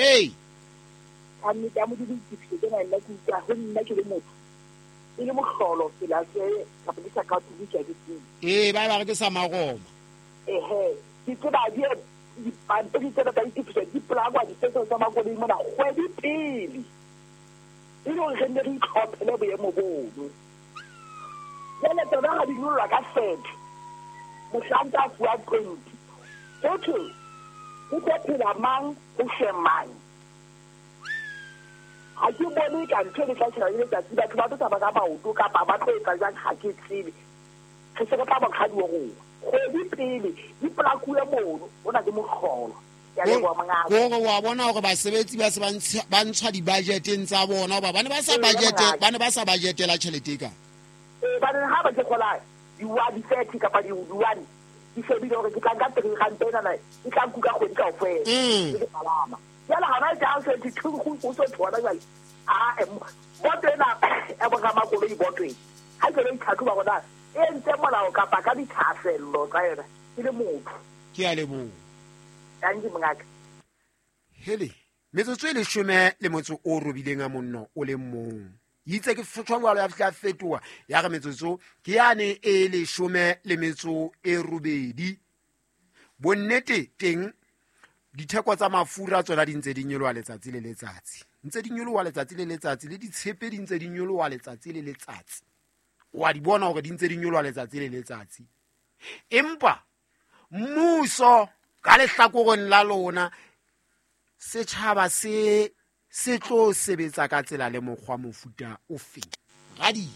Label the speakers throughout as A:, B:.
A: Ee.
B: Ka nnete ya Modimo ditefiso tsena nna ke utlwa ho nna ke le motho. E le mohlolo tsela tse kapa ke sa ka ke ke tsebe.
A: Ee, ba ba re ke sa maroma.
B: Ehe, ke tseba di dipampiri tsena tsa ditefiso di polangwa dipetso tsa makoloi mona kgwedi pele. E le hore re nne re itlhophele boemo bono. Jwale tsona ha di nyollwa ka 30, mohlanka a fuwa 20. Ho thwe ho tlo phela mang ho shwe mang? Ha ke bone ka ntho e le tla tjhaba le letsatsi, batho ba tlo tsamaya ka maoto kapa ba tlo etsa jwang, ha ke tsebe. Re se re tla monghadi wa rona. Kgwedi pele di polakuwe mono, hona ke mohlolo. Ke a leboha mongaka.
A: Kore wa bona hore basebetsi ba se ba ntshwa di-budgeteng tsa bona, hoba ba ne ba sa
B: Ee,
A: budget,
B: mongaka.
A: ba ne ba sa budgetela tjhelete e ka.
B: Ee, ba ne ha ba ke kgola di-30 kapa di-1, ke shebile hore ke tla nka 3 ranta enana, e tla nkuka kgwedi kaofela. Ke palama. Jwale hona e tla se thi thu go go so thona jwale. Ah, boto ena ya bo ramakoloi boto e. Ha ke lo itlhatlhoba hore na e entse molao kapa ka dithahasello tsa yona ke le motho.
A: Ke a leboha.
B: Thank you, mongaka.
A: Hele, metsotso e leshome le motso o robileng a monno o le mong. Itse ke fotshwa jwalo ya fihla fetoha ya re metsotso ke yane e leshome le metso e robedi. Bonnete teng ditheko tsa mafura tsona di ntse di nyoloha letsatsi le letsatsi. Ntse di nyoloha letsatsi le letsatsi, le ditshepe di ntse di nyoloha letsatsi le letsatsi. Wa di bona hore di ntse di nyoloha letsatsi le letsatsi. Empa mmuso ka lehlakoreng la lona, setjhaba se tlo sebetsa ka tsela le mokgwa mofuta ofe? Radio.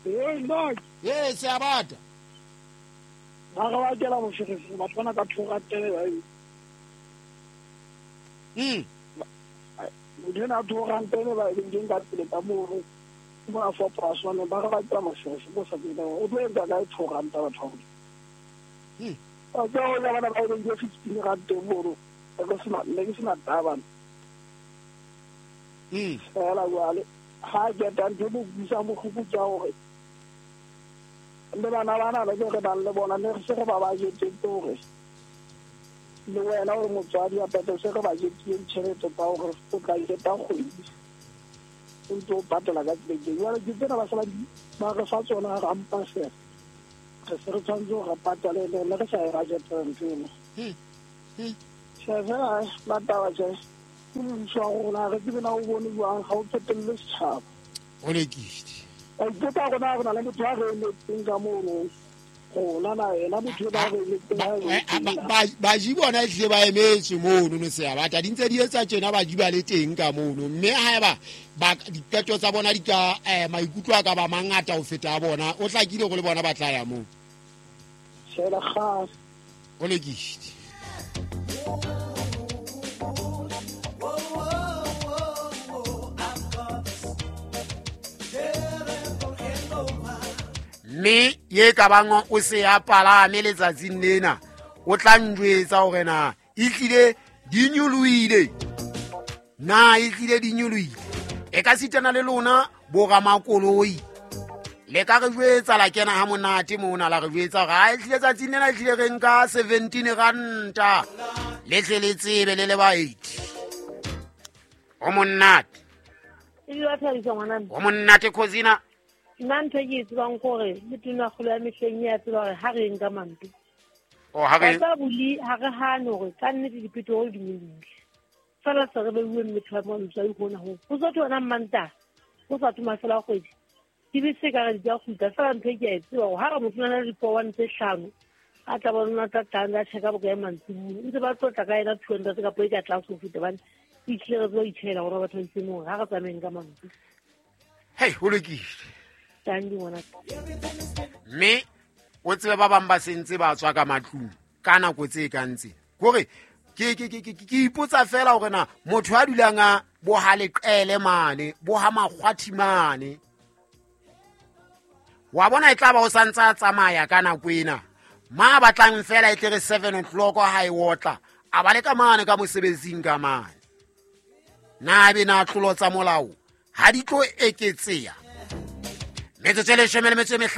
C: Ee, nna.
A: Ee, se a bata.
C: Ba re ba kela moferefere, batho bana ka thora tele ba e. Motho ena a thora tele ba e leng ka pele ka moo, ke mona four plus one, ba re ba kela moferefere, bo sa tsebe o tlo etsa kae thora ntha batho ba. Ba tswa ho ja bana ba e leng ke 15 rand teng mono. Ne ke sena taba. Fela jwale, ha ke eta ntho e mo utlwisang bohloko ke ya hore le bana bana le re nang le bona, ne re se re ba bajetetse hore le wena o le motswadi wa peto, se re bajetile ditjhelete tsa hore o tla qeta kgwedi o ntse o patala ka tseleng eo. Jwale ke tsena ba se ba re fa tsona rampa fela. Re se re tshwanetse hore re patale, ne re sa e bajetela ntho eno. Tjhe, fela, la taba tjhe. Ke mmuso wa rona, re tsebe na o bone jwang, ha o tsotelle setjhaba.
A: O lekile.
C: Ba ipotsa hore na re na le motho a re emetseng ka mono. Rona na yena motho ena a re emetseng ha e le teng na?
A: Baji bona ehlile ba emetswe mono, no se ya bata. Di ntse di etsa tjena, baji ba le teng ka mono. Mme haeba diqeto tsa bona di ka, maikutlo a ka ba mangata ho feta a bona, o hlakile hore le bona ba tla ya moo.
C: Tjhela kgase.
A: O lokile. Mme ye ka bang o se a palame letsatsing lena, o tla njwetsa hore na ehlile di nyolohile. Na ehlile di nyolohile. E ka sitana le lona boramakoloi. Le ka re jwetsa la kena ha monate mona, la re jwetsa hore ha ehlile tsatsing lena ehlile re nka 17 ranta. Le tle le tsebe le le ba 8. O monate.
D: E le wa thabisa ngwana.
A: O monate Khosina.
D: Nna ntho e ke e tsebang ke hore le tonakgolo ya mehleng e a tseba hore ha re nka manto.
A: Oh, ha re-
D: Ba tsa boli, ha re hane hore ka nnete dipetroli di nyolohile. Fela se re beuwe mmetho wa mantswe a ikgona ho. Ho sa thwe hona Mantaha, ho sa thwe mafelo a kgwedi. Dibese ka re di tla kgutla, fela ntho e ke a e tseba hore ha re motho o na le di-four one tse hlano, a tla bona o tla tla a check-a bokae mantsibuya. Ntse ba tlotla ka yena 200 kapa e ka tlase ho feta, hobane e hlile re tseba ho itjhehela rona batho ba itseng hore ha re tsamayeng ka mantswe.
A: Hei, ho lokile.
D: Thank you, ngwana.
A: Mme o tsebe ba bang ba sentse ba tswa ka matlung ka nako tse kang tse. Kore ke ipotsa fela hore na motho a dulang a boha leqele mane, boha makgwathi mane. Wa bona e tla ba o santse a tsamaya ka nako ena. Ma batlang fela e tle re 7 o'clock ha e otla, a ba le ka mane ka mosebetsing ka mane. Na be na tlolo tsa molao ha di tlo eketseha? Metsotso e leshome le metso e mehlano.